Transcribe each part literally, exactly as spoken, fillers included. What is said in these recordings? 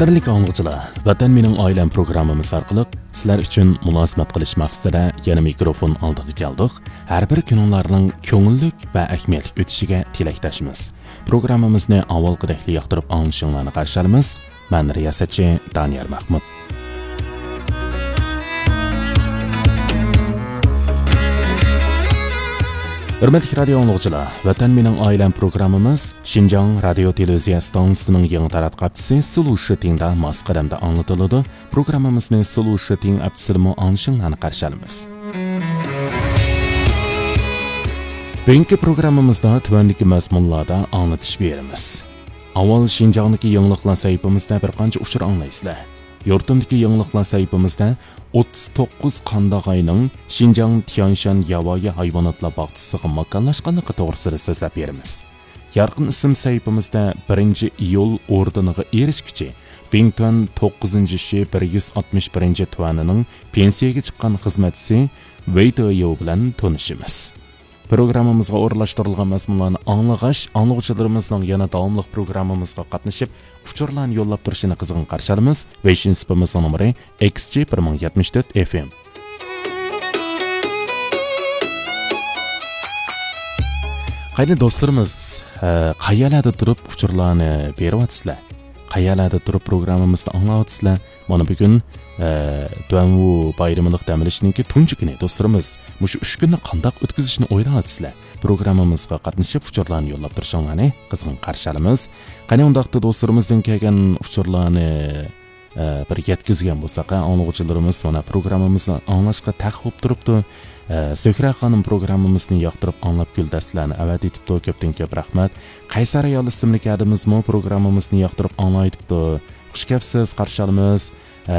قەدىرلىك ئاڭلىغۇچىلار، ۋەتەن مېنىڭ ئائىلەم پروگراممىمىز ئارقىلىق سىلەر ئۈچۈن مۇلازىمەت قىلىش مەقسىتىدە يەنە مىكروفون ئالدىغا كەلدۇق. ھەر بىر كۈنۈڭلارنىڭ كۆڭۈللۈك ۋە ئەھمىيەتلىك ئۆتۈشىگە تىلەكداشمىز. پروگراممىمىزنى ئاۋۋالقىدەكلا ياقتۇرۇپ ئاڭلىشىڭلارنى قارشى ئالىمىز. مەن رىياسەتچى دانىيار مەخمۇت. ھۆرمەتلىك رادىيو ئاڭلىغۇچىلار، ۋەتەن مېنىڭ ئائىلەم پروگراممىمىز شىنجاڭ رادىيو تېلېۋىزىيە ئىستانسىسىنىڭ يېڭى تاراتقۇ ھەپتىسى سلۇ شىتىڭدا ماس قەدەمدە ئاڭلىتىلىدۇ. پروگراممىمىزنى سلۇ شىتىڭ ئەپسىدىمۇ ئاڭلىشىڭلارنى قارشى ئالىمىز. بۈگۈنكى پروگراممىمىزدا تۆۋەندىكى مەزمۇنلاردا ئاڭلىتىش بېرىمىز. ئاۋۋال شىنجاڭدىكى يېڭىلىقلار سەھىپىمىزدە بىر قانچە ئۇچۇر ئاڭلايسىلەر. يۇرتۇمدىكى يېڭىلىقلار سەھىپىمىزدە ئوتتۇز توققۇز قانداغاينىڭ شىنجاڭ تيانشان ياۋايى ھايۋاناتلار باغچىسىغا ماكانلاشقانلىقى توغرىسىدا سۆزلەپ بېرىمىز. يارقىن ئىسىم سەھىپىمىزدە بىرىنچى ئىيۇل ئوردېنىغا ئېرىشكۈچى بىڭتۈەن توققۇزىنچى شى بىر يۈز ئاتمىش بىرىنچى تۈەنىنىڭ پېنسىيەگە چىققان خىزمەتچىسى ۋېي دېيو بىلەن تونۇشىمىز. پروگراممىمىزغا ئورۇنلاشتۇرۇلغان مەزمۇنلارنى ئاڭلىغاچ، ئاڭلىغۇچىلىرىمىزنىڭ يەنە داۋاملىق پروگراممىمىزغا قاتنىشىپ، ئۇچۇرلارنى يوللاپ تۇرۇشىنى قىزغىن قارشى ئالىمىز. ۋېيشىن سۇپىمىزنىڭ نومۇرى ئېكس جى بىر مىڭ يەتمىش تۆت ئېف ئېم. قېنى دوستلىرىمىز، ئە، قەيەرلەردە تۇرۇپ ئۇچۇرلارنى بېرىۋاتىسىلەر؟ قەيەرلەردە تۇرۇپ پروگراممىمىزنى ئاڭلاۋاتىسىلەر؟ مانا بۈگۈن، ئە، دۇەنۋۇ بايرىمىلىق دەم ئېلىشنىڭكى تۇنجى كۈنى. دوستلىرىمىز، مۇشۇ ئۈچ كۈننى قانداق ئۆتكۈزۈشنى ئويلاۋاتىسىلەر؟ پروگراممىمىزغا قاتنىشىپ، ئۇچۇرلارنى يوللاپ تۇرۇشۇڭلارنى قىزغىن قارشى ئالىمىز. قېنى ئۇنداقتا دوستلىرىمىزدىن كەلگەن ئۇچۇرلارنى، ئە، بىر يەتكۈزگەن بولساق، ئاڭلىغۇچىلىرىمىز مانا پروگراممىمىزنى ئاڭلاشقا تەق بولۇپ تۇرۇپتۇ. ئە، زۆھرە خانىم پروگراممىمىزنى ياقتۇرۇپ ئاڭلاپ گۈلدەستىلەرنى ئەۋەتىۋېتىپتۇ. كۆپتىن كۆپ رەھمەت. قەيسەر ئايال ئىسىملىك ئادىمىزمۇ پروگراممىمىزنى ياقتۇرۇپ ئاڭلاۋېتىپتۇ. خۇش كەپسىز، قارشى ئالىمىز. ئە،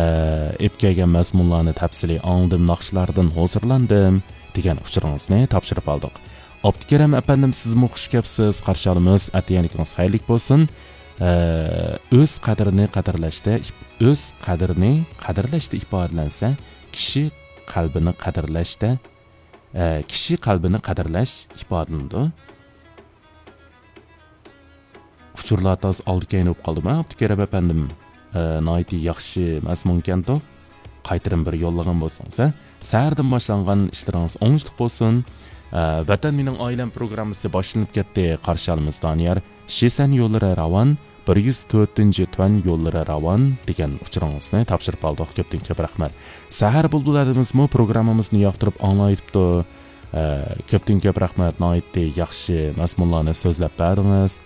ئېلىپ كەلگەن مەزمۇنلارنى تەپسىلىي ئاڭلىدىم، ناخشىلاردىن ھۇزۇرلاندىم، دېگەن ئۇچۇرىڭىزنى تاپشۇرۇپ ئالدۇق. ئابدۇكېرىم ئەپەندىم، سىزمۇ خۇش كەپسىز، قارشى ئالىمىز. ئەتىگەنلىكىڭىز خەيرلىك بولسۇن. ئە، ئۆز قەدرىنى قەدىرلەشتە، ئۆز قەدرىنى قەدىرلەشتە ئىپادىلەنسە، كىشى قەلبىنى قەدىرلەشتە، ئە، كىشى قەلبىنى قەدىرلەش ئىپادىلىنىدۇ. ئۇچۇرلار تاز ئالدى كەينى بولۇپ قالدىمۇ، ئابدۇكېرىم ئەپەندىم؟ ئە، ناھايىتى ياخشى مەزمۇنكەنتۇ. قايتىرىم بىر يوللىغان بولسىڭىز، ھە؟ سەھەردىن باشلانغان ئىشلىرىڭىز ئوڭۇشلۇق بولسۇن. ئە، ۋەتەن مېنىڭ ئائىلەم پروگراممىسى باشلىنىپ كەتتى. قارشى ئالىمىز دانىيار. شىسەن يوللىرى راۋان، بىر يۈز تۆتىنچى تۈەن يوللىرى راۋان دېگەن ئۇچۇرىڭىزنى تاپشۇرۇپ ئالدۇق. كۆپتىن كۆپ رەھمەت. سەھەر بۇلبۇل ئادىمىزمۇ پروگراممىمىزنى ياقتۇرۇپ ئاڭلاۋېتىپتۇ. ئە، كۆپتىن كۆپ رەھمەت، ناھايىتى ياخشى مەزمۇنلارنى سۆزلەپ بەردىڭىز.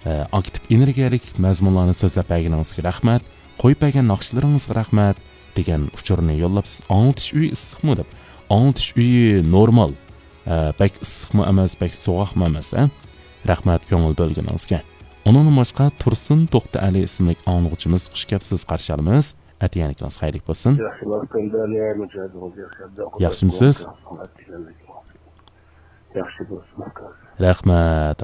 ئە، ئاكتىپ ئېنېرگىيەلىك مەزمۇنلارنى سۆزلەپ بەرگىنىڭىزگە رەھمەت، قويۇپ بەرگەن ناخشىلىرىڭىزغا رەھمەت، دېگەن ئۇچۇرنى يوللاپسىز. ئاڭلىتىش ئۆيى ئىسسىقمۇ دەپ. ئاڭلىتىش ئۆيى نورمال. ئە، بەك ئىسسىقمۇ ئەمەس، بەك سوغۇقمۇ ئەمەس، ھە؟ رەھمەت كۆڭۈل بۆلگىنىڭىزگە. ئۇنىڭدىن باشقا تۇرسۇن توختى ئەلى ئىسىملىك ئاڭلىغۇچىمىز خۇش كەپسىز، قارشى ئالىمىز. ئەتىگەنلىكىڭىز خەيرلىك بولسۇن. ياخشى، ماختاندىن يا مۇجاھىدىڭىز ياخشى. ياخشىمۇسىز؟ ياخشى بولسۇن، ئاكا. رەھمەت،